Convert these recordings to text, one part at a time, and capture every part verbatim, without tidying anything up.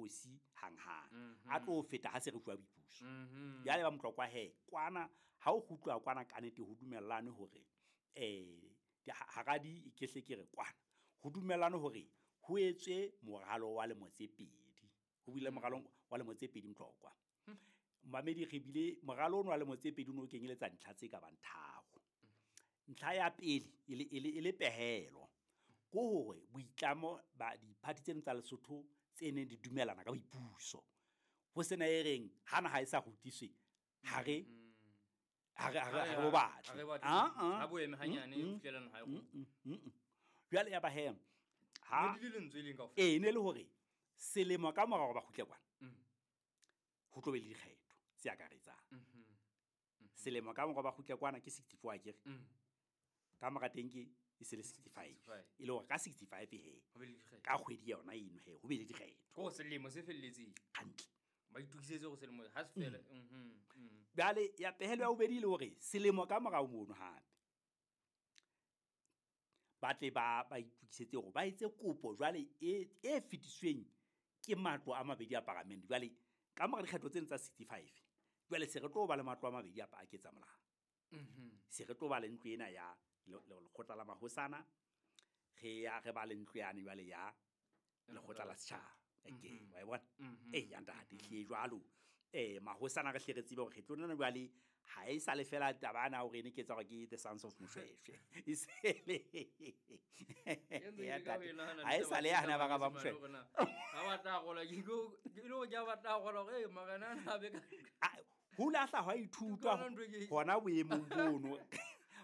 bokgosi hanghang a tlo feta ha se re fuwa boipuso. Jwale ba Motlokwa he kwana ha o kgutlwa kwana ka nnete ho dumellane hore eh hara di ke hle ke re kwana ho dumellane hore ho etswe moralo wa lemo tse pedi. Ho bile moralo wa lemo tse pedi Motlokwa. Mamedi re bile moralo ono wa lemo tse pedi o no kenyeletsa ntlha tse ka bang tharo. Ntlha ya pele e le e le pehelo ko hore boitlamo ba diphathi tseno tsa Lesotho tse neng di dumelana ka boipuso ho sena e reng ha naha e sa rutiswe ha re ha re ha re batle ha bo eme hanyane ho fihlela naha e go. Jwale ya ba he ha ne di le lentswe leng kaofela e ne le hore selemo ka mora hore ba kgutle kwana ho tlo be le dikgetho tse akaretsang. Selemo ka mora ba kgutle kwana ke sixty-four akere ka mora teng ke e se le sixty-five e le hore ka sixty-five he ka kgwedi yona eno he ho be le dikgetho ko selemo se felletseng hantle ba itukisetse go selemo ha se fela. Jwale ya pehelo ya bobedi le hore selemo ka mora mono hape ba tle ba ba itukisetse hore ba etse kopo jwale e e fetisweng ke matlo a mabedi a parliament. Jwale ka mora dikgetho tseno tsa sixty-five jwale se re tlo ba le matlo a mabedi a a ketsa molao. Se re tlo ba le ntlo ena ya lekgotla la mahosana re ya re ba le ntlo yane jwale ya lekgotla la setjhaba. Okay, wa e bona? Eh ya ntate hle jwalo eh mahosana re hle re tsebe hore re tlo nna jwale ha e sa le fela taba ana hore ne ke etsa hore ke the sons of Moshweshwe e sele ya ntate ha e sa le yana ba ga ba Moshweshwe ha ba tla gola ke go ke lo ja ba tla gola hore marena na be ka ho lahla ha ithutwa hona boemong bono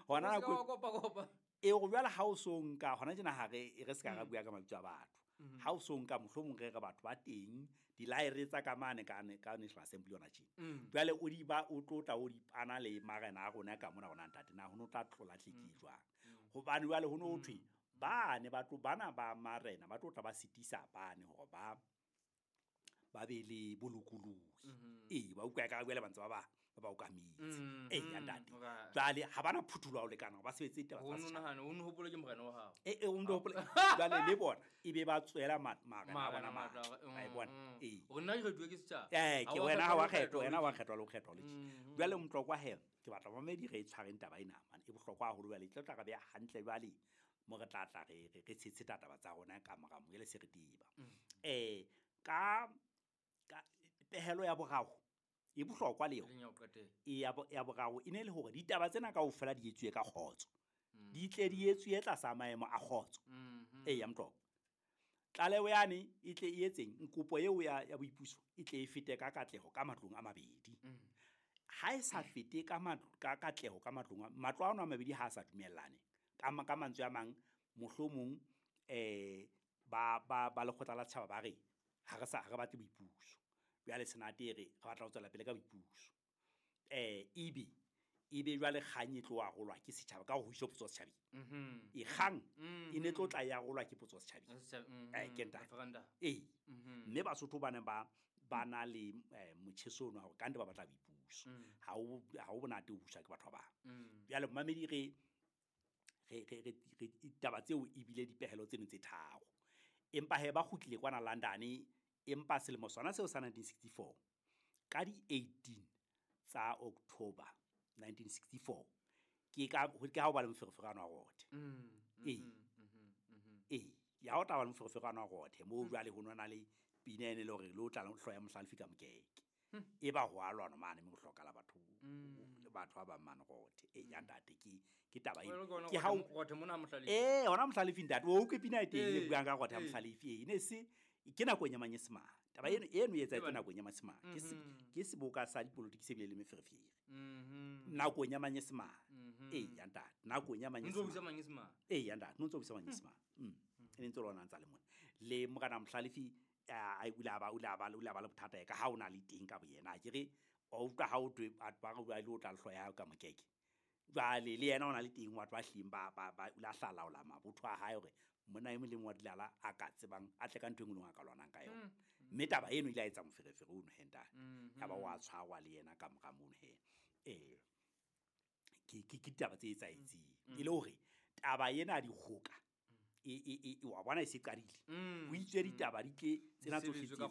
hona go kopa kopa e go jwale ha o so nka hona tjena ha re re se ka ra bua ka mabitso a batho ha o so nka mohlomong re re batho ba teng dilaere tsa ka mane ka ka National Assembly yona tjena jwale o di ba o tlotla o di pana le marena a rona ka mona rona ntate na ho no tla tlola tleki jwang hobane jwale ho no thwe ba ne ba tlo bana ba marena ba tlotla ba sitisa bane hore ba ba be le bolokolohi e ba utlwa ka jwale ba ntse ba ba ba ba okametse e ya ntate jwale ha bana phuthulo ha o lekana ba sebetse ditaba tsa setjhaba o nahana o hopola ke morena wa hao e e o hopola jwale le bona e be ba tswela marena a bona matla a e bona e o nna ke kgethuwe ke setjhaba eh ke wena ha wa kgethwa wena wa kgethwa le ho kgethwa le jwale Motlokwa he ke batla mamedi re e tshwareng taba ena man e bohlokwa haholo jwale e tlo tla re beha hantle jwale mo re tla tla re re tshetse taba tsa rona ka mora mo ele se re tiba eh ka ka pehelo ya boraro e bohlokwa le yona e ya ya boraro e ne le hore ditaba tsena kaofela di etsuwe ka kgotso di tle di etsuwe tlasa maemo a kgotso e ya Motlokwa tlaleho yane e tle e etseng kopo eo ya ya boipuso e tle e fete ka katleho ka matlong a mabedi ha e sa fete ka ka katleho ka matlong matlo a ona a mabedi ha a sa dumellane ka ka mantswe a mang mohlomong eh ba ba ba lekgotla la setjhaba ba re ha re sa ha re batle boipuso jwale senate re re batla ho tswela pele ka boipuso eh ebe ebe jwale kgang e tlo arolwa ke setjhaba ka ho iswa potso setjhabeng e kgang e ne tlo tla ya arolwa ke potso setjhabeng eh ke ntate eh mme Basotho ba ne ba ba na le motjheso ono hore ka nte ba batla boipuso ha o ha o bonate o buswa ke batho ba bang jwale mamedi re re re re ditaba tseo e bile dipehelo tseno tse tharo empa he ba kgutlile kwana London empa selemo sona seo sa nineteen sixty-four ka di eighteen tsa October nineteen sixty-four ke ka ke ha o ba le moferefere wa rothe e e ya o tla ba le moferefere wa rothe mo jwale ho nona le pina ene le hore le o tla hloya Mohlalefi ka mokeke e ba ho a lwana mane mme ho hlokala batho batho ba bang mane rothe e ya ntate ke ke taba eno ke ha rothe mona Mohlalefi eh hona Mohlalefi ntate o utlwe pina e teng e buang ka rothe ya Mohlalefi e ne se ke nakong ya Manyesemane taba eno eno e etsahetse nakong ya Manyesemane ke ke seboka sa dipolotiki se bile le meferefere nakong ya Manyesemane e ya ntate nakong ya Manyesemane e ya ntate no ntso busa Manyesemane e ne ntse lona ntsa le mona le morena Mohlalefi a o ile a ba o ile a ba o ile a ba le bothata ka ha o na le teng ka boyena ke re o utlwa ha o twe batho ba re ba ile o tla hloya ya ka mokeke jwale le yena o na le teng batho ba hleng ba ba ba o la hlalaola mabotho a hae hore monna e mong le mong wa dilala a ka tsebang a tle ka ntho e nngwe le nngwe a ka lwanang ka yona mme taba eno ile a etsa moferefere ono he ntate ya ba wa tshwarwa le yena ka mora mono he eh ke ke ke ditaba tse etsahetseng e le hore taba ena ya dikgoka e e e wa bona e se qadile ho itswe ditaba di tle tsena tsohle tse ka